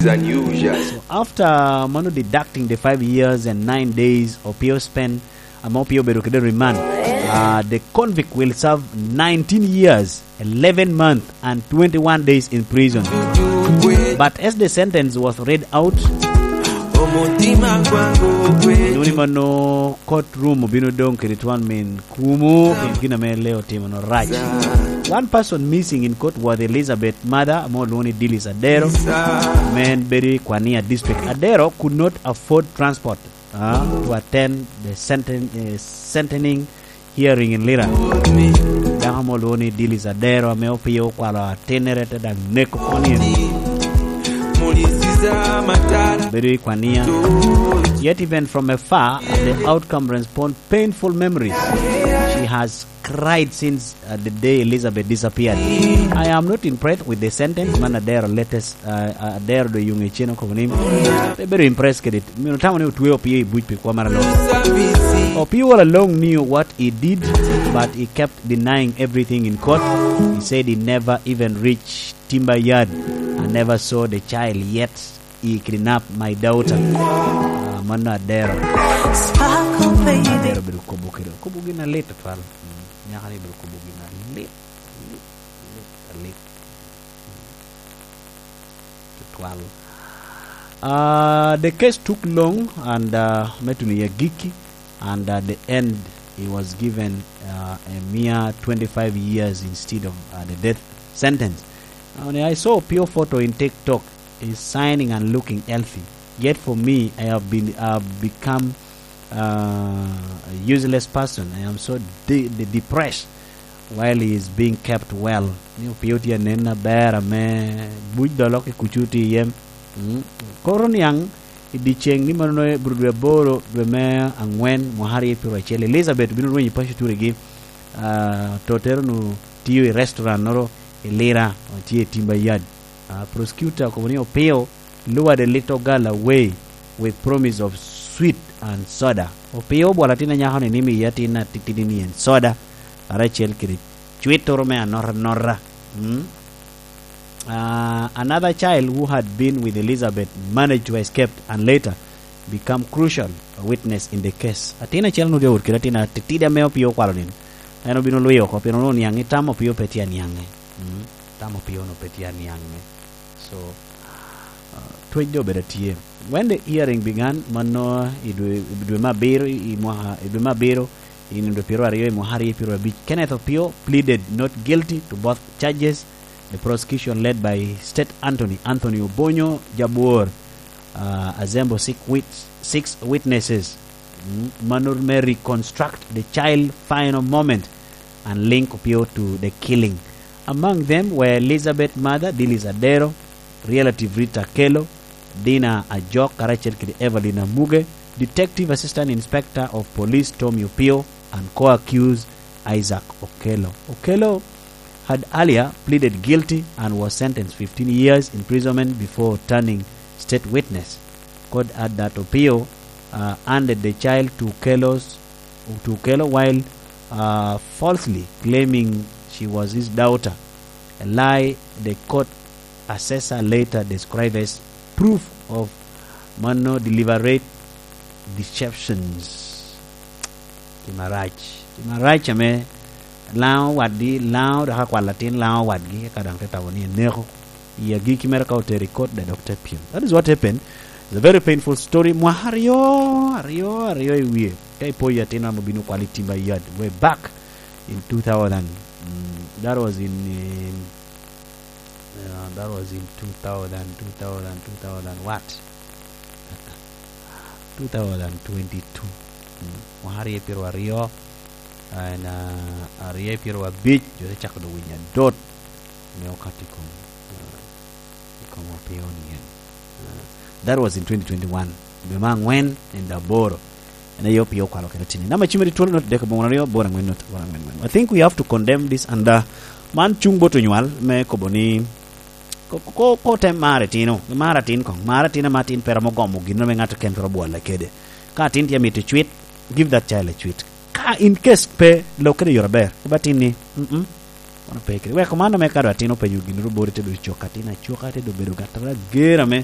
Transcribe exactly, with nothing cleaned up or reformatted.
Unusual. So after mano deducting the five years and nine days Opio spent, ame Opio obedo kede remand, uh, the convict will serve nineteen years, eleven months, and twenty-one days in prison. But as the sentence was read out, nuni mano courtroom obino dong kede twon min kumo, pien gin ame Leo otimo no rac. One person missing in court was Elizabeth mother, ame olwoŋo ni Dillis Adero. Men bedo i Kwania district. Adero could not afford transport, uh, to attend the senten-, uh, sentencing hearing in Lira. Dako ame olwoŋo ni Dillis Adero, ame Opio okwalo atinnere te daŋ neko koni. Bedo i Kwania. Yet even from afar, at the outcome respond painful memories. She has cried since, uh, the day Elizabeth disappeared. I am not impressed with the sentence man Adero latest, uh, uh, Adero do yung ecen oko ni. Pe bedo impressed kede it. Mino tamo ni otwe Opio i buc pi kwo mara no. Opio all along knew what he did, but he kept denying everything in court. He said he never even reached Timber Yard. I never saw the child yet. He kidnap my daughter. Ah, mano Adero. Adero bedo kobo kede. Kobo gin alit atwal. Mm. Nyaka ni bedo kobo gin alit. Lit, lit, alit. Tutwal. Uh, the case took long and, uh, me tuno i agikki, and at the end he was given, uh, a mere twenty-five years instead of, uh, the death sentence. And I saw Opio photo in TikTok. He's shining and looking healthy. Yet for me, I have been, I have become, uh, a useless person. I am so de-, de-, depressed while he is being kept well. Ni Opio tye anen aber ame buc dolo ki kucu tye iye. Mm. Koro niaŋ i dyeceŋ ni mano nongo i dwe aboro, dwe me angwen, mwaka aryo pyeraryo acel, Elizabeth obino rwenyo i paco turigi. Ah, tottere onwoŋo tiyo i restaurant-noro i Lira, tye i Timber Yard. Ah, prosecutor okobo ni Opio luwade little girl away with promise of sweet and soda. Opio obwolo atin anyako-ni ni miye atin atitidi ni en soda, karacel kede cwittoro me anota anota. Mm? Ah, another child who had been with Elizabeth managed to escape and later become crucial witness in the case. Atin acel onwoŋo tye awot kede atin atitidi ame Opio okwalo nino. En obino lwi oko, pien onwoŋo niaŋ ni tam Opio pe tye aniaŋe. Mm, tam Opio onwoŋo pe tye aniaŋe. So, uh, twec doŋ obedo atye. When the hearing began, mano i dwe, i dwe me abiro, i, i mwaka, i dwe me abiro, i nino dwe pyeraryo i mwaka aryo pyeraryo abic, Kenneth Opio pleaded not guilty to both charges. The prosecution, led by State Attorney Anthony Obonyo Jabwor, uh, assemble six wit-, six witnesses, mm, mano me reconstruct the child final moment and link Opio to the killing. Among them were Elizabeth mother, Dillis Adero, relative Rita Akello, Dina Ajok, karacel kede Evelyn Amuge, Detective Assistant Inspector of Police Tommy Opio, and co-accused Isaac Okello. Okello had earlier pleaded guilty and was sentenced fifteen years imprisonment before turning state witness. Court add that Opio, uh, handed the child to Okello's, to Okello while, uh, falsely claiming she was his daughter, a lie the court assessor later described as proof of mano deliberate deceptions. Tim arac. Tim arac ame laŋo wadgi, laŋo dok akwalo atin laŋo wadgi, eka daŋ te tamo ni eneko. I agikki mere ka otero i kot, dok te pyem. That is what happened. It's a very painful story. Mwaka aryo, aryo, aryo i wie. Ka ipoyo atin ame obino kwalo i Timber Yard way back in two thousand. Mm, that was in, in, uh, that was in two thousand, two thousand, two thousand what? Two thousand twenty-two. Mm, mwaka aryo pyeraryo, ah, en, ah, aryo pyeraryo abic, jo te cako doŋ winyo adot me okato i kom, ah, i kom Opio ni en. Ah, that was in twenty twenty-one. Dwe me angwen, nino aboro. En aye Opio okwalo kede tini. Namba cim adi twolo not dek aboŋo aryo, aboro angwen not aboro angwen angwen. I think we have to condemn this and, uh, man cuŋ bot onywal me kobo ni, ko, ko, ko, ko te mar itino, mar atin koŋ, mar atin ama atin pe romo gomo gin me ŋat oken twero bwolle kede. Ka atin tye mito cwit, give that child a cwit. Ka in case pe lok kede yore aber, koba tin ni, mm, mm, mano pe kede. Wek man ame ka do atin openyo gin ru bori te do cok atin acoka te do bedo gat ager ame